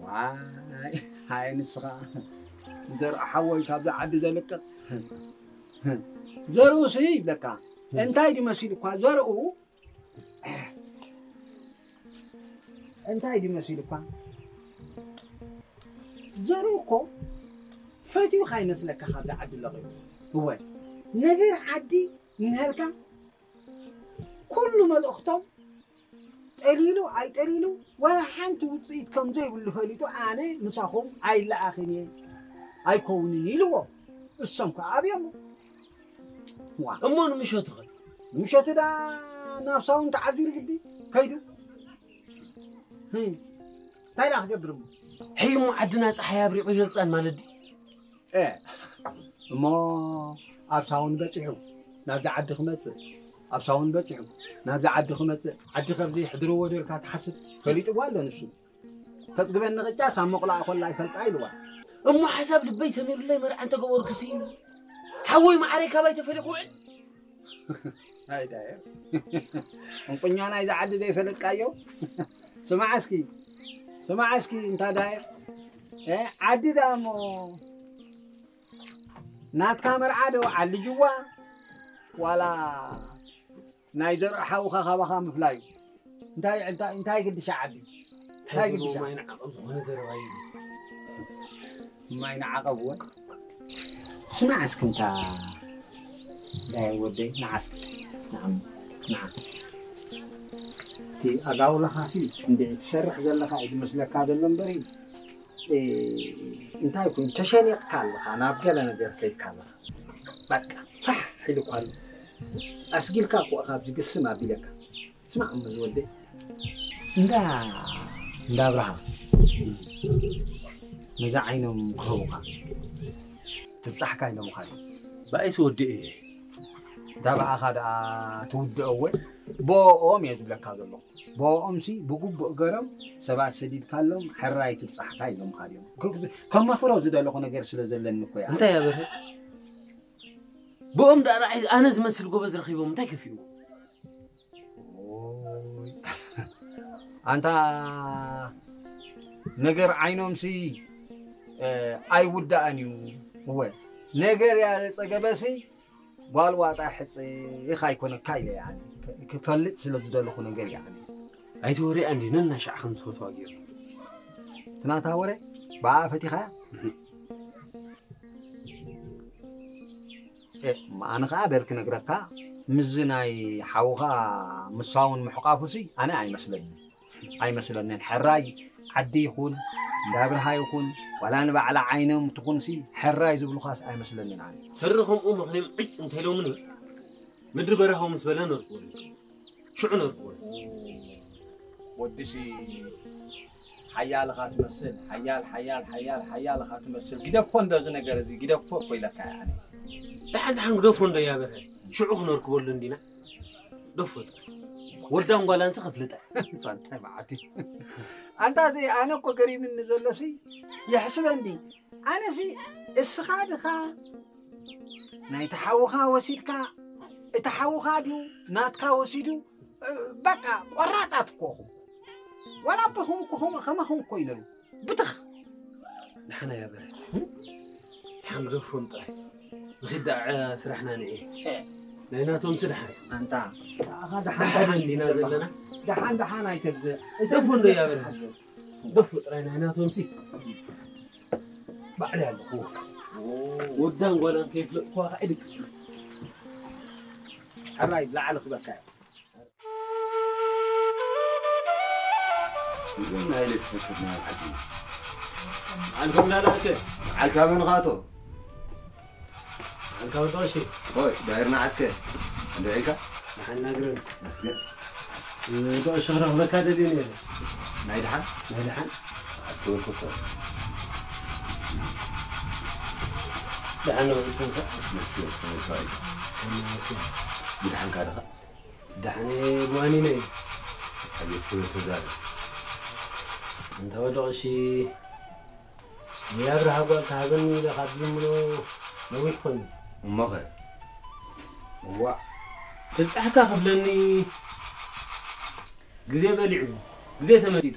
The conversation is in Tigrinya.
ዋይ፣ ሃይ ንስኻ ዘርኡ ሓወይ ካብዛ ዓዲ ዘልቅቕ ዘርኡ ሲ ይብለካ። እንታይ ድዩ መሲሉ እኳ ዘርኡ፣ እንታይ ድዩ መሲሉ እኳ ዘርኡ እኮ ፈትዩ ካይመስለካ ካብዛ ዓዲ ለቒቑ። እወ፣ ነገር ዓዲ እንሀልካ ኩሉ መልእኽቶም ጠሊሉ ኣይጠሊሉ ዋላ ሓንቲ ውፅኢት ከም ዘይብሉ ፈሊጡ ኣነ ምሳኹም ኣይለኣኽን እየ ኣይከውንን ኢልዎ። እሶም ከዓ ኣብዮሞ። ዋ፣ እሞ ንምሸቱ ኸ? ንምሸቱ ዳ ናብ ሳውን ተዓዚሩ ግዲ ከይዱ። ህይ፣ እንታይ ዳ ክገብር እሞ? ሕይ እሞ ዓድና ፀሓይ ኣብሪቑ ይረግፃን ማለት ድዩ? እ፣ እሞ ኣብ ሳውን በፂሑ ናብዚ ዓዲ ክመፅእ፣ ኣብ ሳውን በፂሑ ናብዚ ዓዲ ክመፅእ፣ ዓዲ ከብዚ ሕድርዎ ዶ ኢልካ ትሓስብ? ፈሊጥዎ ኣሎ ንሱ። ተፅግበኒ ቅጫስ ኣብ መቑላእ ኮላ ይፈልጣ ኢልዋ። እሞ ሓሳብ ልበይ ሰሚሩለይ መርዓ እንተገበርኩሲ ሓወይ መዓረይ ካባይ ተፈሊኹ ውዕል። ኣይ ዳየ። እንቁኛ ናይዚ ዓዲ ዘይፈለጥካዮ? ስማዕ እስኪ፣ ስማዕ እስኪ እንታ ዳየ። እ፣ ዓዲ ደኣ እሞ ናትካ መርዓ ዶ ዓልጅዋ ዋላ ናይ ዘርኡ ሓውኻ ካባኻ ምፍላዩ? እንታይ፣ እንታይ፣ እንታይ ግድሻ ዓዲ? እንታይ እንታይ ዝብልዎ ግድሻ? ማይ ንዓቐብ ዝኾነ ዘረባ እዩ እዚ። ማይ ንዓቐብ እወ። ስማዕ እስኪ እንታ ዳይ ወደይ፣ ንዓ እስኪ፣ ንዓ፣ ንዓ። እቲ ኣጋውላኻሲ እንድዒ ትሰርሕ ዘለኻ እዩ ዝመስለካ ዘሎ እምበሪ፣ እ፣ እንታይ ኮይኑ ተሸኒቕካ ኣለኻ፣ ናብ ገለ ነገር ከይድካ ኣለኻ። በቃ ፋሕ ኢሉ እኳ ኣሎ። ኣስጊልካ እኮ ካብዚ ግስም ኣቢለካ። ስማዕ እሞ ዝወደይ፣ እንዳ፣ እንዳ ኣብርሃ ነዛ ዓይኖም ክህቡኻ ትብጻሕካ ኢሎምኻ ድዮም? ብኣይሲ ወዲኤ እየ። እታ ብኣኻ ደኣ ትውድኦ እወ፣ ብኦኦም እየ ዝብለካ ዘለኹ። ብኦኦምሲ ብግቡእ ገሮም ሰባት ሰዲድካሎም ሕራይ ትብጻሕካ ኢሎምኻ ድዮም? ክ-፣ ከማኽሮ ዝደለኹ ነገር ስለ ዘለኒ እኮ እየ። እንታይ ኣበርሀ? ብኦም ደኣ ንዓይ ኣነ ዝመስል ጎበዝ ረኺቦም እንታይ ከፊእዎ? ኦይ። ኣንታ ነገር ዓይኖምሲ፣ እ፣ ኣይውዳእን እዩ። እወ፣ ነገር ያለ ጸገበሲ ጓል ዋጣ ሕጽ ኢኻ ኣይኮነካ ኢለ፣ ያኒ፣ ክ-፣ ክፈልጥ ስለ ዝደለኹ ነገር፣ ያኒ። ኣይትወርያ እንዲ ነናሻዕ ከም ዝፈትዋ ገይሩ። እቲ ናታ ወረ ብኣ ፈቲኻያ? እህ። እ፣ ኣነ ኸዓ በል ክነግረካ፣ ምስዚ ናይ ሓውኻ ምሳውን ምሕቋፉሲ ኣነ ኣይመስለንን። ኣይመስለንን። ሕራይ ዓዲ ይኹን፣ እንዳ ብርሃ ይኹን፣ ዋላ ንባዕላ ዓይኖም ትኹንሲ፣ ሕራይ ዝብሉኻስ ኣይመስለንን ኣነ። ሰሪ ከምኡ ምኽንዮም ዕጭ እንተኢሎምኒ፣ ምድሪ በረሃ ምስ በለ ነርኩ። ሽዑ ነርኩ። ወድሲ ሓያል ኢኻ ትመስል፣ ሓያል፣ ሓያል፣ ሓያል፣ ሓያል ኢኻ ትመስል። ግደፎ እንዶ እዚ ነገር እዚ፣ ግደፎ እኮ ኢለካ እየ ኣነ። ደሓን፣ ደሓን ግደፎ እንዶ እያ በርሀ። ሽዑ ክነርክበሉ እንዲና። ግደፎ ጥራይ። ወዳን ጓላንስ ከፍልጠ። እንታይ መዓት እዩ። ኣንታ እዚ ኣነ እኮ ገሪምኒ ዘሎሲ፣ ይሕስበኒ። ኣነሲ እስኻ ድኻ ናይቲ ሓውኻ ወሲድካ፣ እቲ ሓውኻ ድዩ ናትካ ወሲዱ፣ እ፣ በቃ ቆራጻት እኮ ኹም። ዋላ ኣቦኹም እኮ ኹም፣ ከማኹም እኮ እዩ ዘሎ። ብትኽ። ደሓን እያ በረ። ደሓን ግደፎም ጥራይ። ንኺድ ደኣ ስራሕና ንኤ። እ። ናይ ናቶምሲ ደሓን። ኣንታ፣ ኣኻ ደሓን፣ ደሓን ደሓን እንዲና ትብል ዘለኻ። ዘለና። ደሓን፣ ደሓን ኣይተብዝሕ። ግደፎ እንዶ እያ በረ። ግደፎ ጥራይ ናይ ናቶምሲ። ባዕለይ ኣለኹ። ኦ። ወዳን ጓላን ከይፍለጥኩዋ ከዓ ይድቅስ። ሕራይ ብላዕሊ ክበካ እዩ። እዞም ናይ ሌስ ፈከት ናይ ዓዲ። ዓልኩም ዳላከ? ዓልካ መን ኻቶ? ዓልካ ወጣ እሺ። ሆይ፣ ዳይርና ዓስከ። እንዶ ዒልካ? ደሓን ናግረን። መስገን። ወጣ እሺ፣ ክረኽበካ ደልየ ነይረ። ናይ ደሓን? ናይ ደሓን። ዓስከ ወልኮቶ። ደሓን ነው፣ ወልኮቶ። መስገን፣ ሰማይ ሰማይ። ደሓን ካደኻ? ደሓን እየ፣ ብዋኒነ እየ። ኣቤት ክብር ተዛረብ። እንተ ወደቕ እሺ፣ ንኣብርሃ ጓል ተሃበኒ ኢለ ካብ ዝምኖ ነዊሕ ኮይኑ። እሞኸ? እዋእ፣ ትብጻሕካ ክብለኒ ግዜ በሊዑ፣ ግዜ ተመጢጡ።